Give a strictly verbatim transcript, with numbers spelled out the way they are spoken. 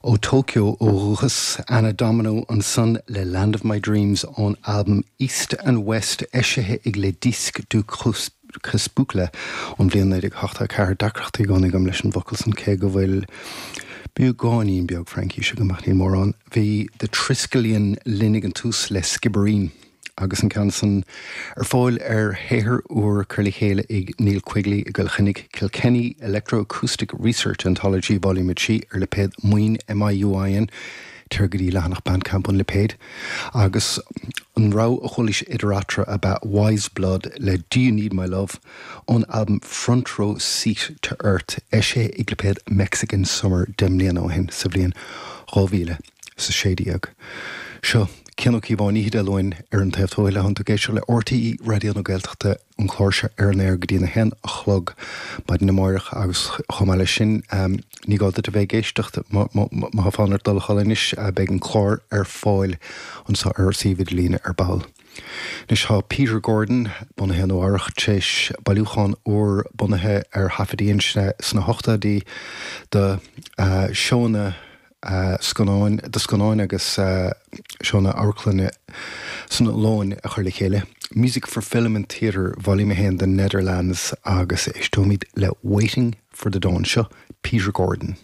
Ó Tokyo ó dhúchas Anna Domino ansan le Land of My Dreams ón albam East and West eisithe ag Les Disques du Crépuscule ón bhliain naoi déag ochtó ceathair deacrachtaí i gcónaí agam leis an bhfocal san cé go bhfuil beagáinín beag Fraincise agam ach níl mórán. Bhí The Triskelion linn ag an tús le Skibbereen. Agus an ceann san ar fáil ar shaothar úr curtha le chéile ag Neil Quigley i gCill Chainnigh Kilkenny Electroacoustic Research Anthology Volume trí ar lipéad Muin MIUIN tar go dtí leathanach Bandcamp an lipéid agus an rogha a chualaís idir eatarthu ab ea Wise Blood le Do You Need My Love ón albam Front Row Seat to Earth eisithe ag lipéad Mexican Summer deich mbliana ó shin sa bhliain dhá mhíle is a sé déag. Seo Cian Ó Cíobháin Oíche Dé Luain ar an taobh thuaidh le hAon ag éisteacht le RTÉ Raidió na Gaeltachta an clár seo ar an aer go dtí a haon a chlog maidin amárach agus chomh maith leis sin ní gá duit a bheith ag éisteacht má tá fonn ort dul a chodladh anois beidh an clár ar fáil anseo ar suíomh idirlíne ar ball. Anois tá Peter Gordon bunaithe i Nua Eabhrac tar éis bailiúchán úr bunaithe ar thaifeadtaí sna hochtóidí de seónna scannáin de scannáin agus seónna amharclainne san Ollainn a chur le chéile. Music for Film and Theatre Volume a haon the Netherlands agus éisteoimid le Waiting for the Dawn seo Peter Gordon.